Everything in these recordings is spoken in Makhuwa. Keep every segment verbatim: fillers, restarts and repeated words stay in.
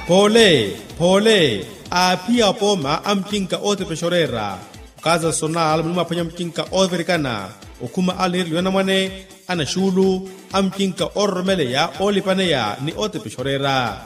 Phoole, phoole, aaphiya apooma a mucinka ootepexa oreera. Okaza sonal munimwaphwanya mucinka oovirikana, okhuma aliniriliwa anamwane, anaxuulu, a mucinka oororomeleya oolipaneya ni ootepexa oreera.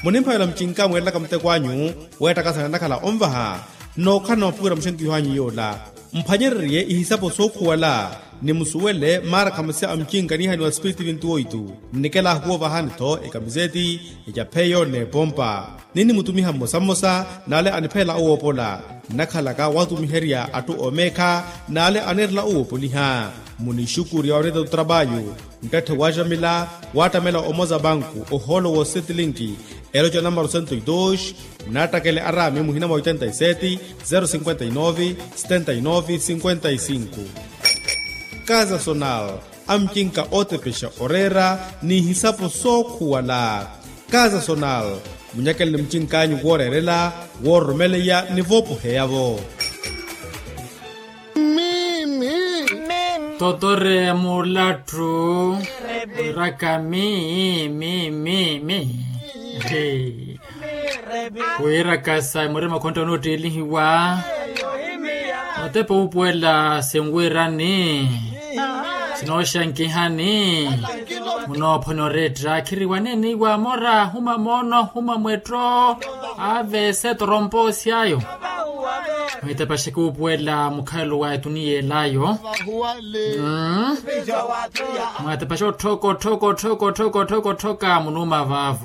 Munimphavela mucinka mweerelaka muteko anyu, weettakasana nakhala onvaha, nookhalana mapukira muxenkiho anyu yoola. Mphwanyererye ihisapo sookhuwala, ni musuwele maarakhamasi a mucinka niihaniwa spiritu vintu oitu. Nnikela ahukuwa ovahani-tho ekamiseti, ecapheyo n'epompa. Ninnimutumiha mmosa mmosa n'ale aniphelela owoopola. Nnakhalaka watumiherya atthu oomeekha, n'ale anirela owoopoliha. Munixukurya oreeta tutrapayu, nttatthe waaxamila, waattamela omoza banku ohoolo w'osetilinki, eloca namaro sento y dos. Munattakele araami muhina mwa oitenta y sete, zero cinquenta y nove, setenta y nove cinquenta y cinco. Kaza sonal, a mucinka ootepexa oreera, n'ihisapo sookhuwala. Kaza sonal, munyakele ni mucink'anyu wooreerela, woororomeleya ni voopoheya-vo. Totore mulatthu, wiraka mi mi mi mi. Wiiraka sa murima khontta onoottiilihiwa. Otepa uupuwela sinwiirani, sinooxankihani. Munoophwanya oretta khiriwa neeniiwa mora huma moono huma mwetto. Ave se toromposi ayo. Mwitepaxeke uupuwela mukhalelo wa etuniya elayo. Mwatepaxa otthoko otthoko otthoko otthoko otthoko otthoko munuuma vaavo.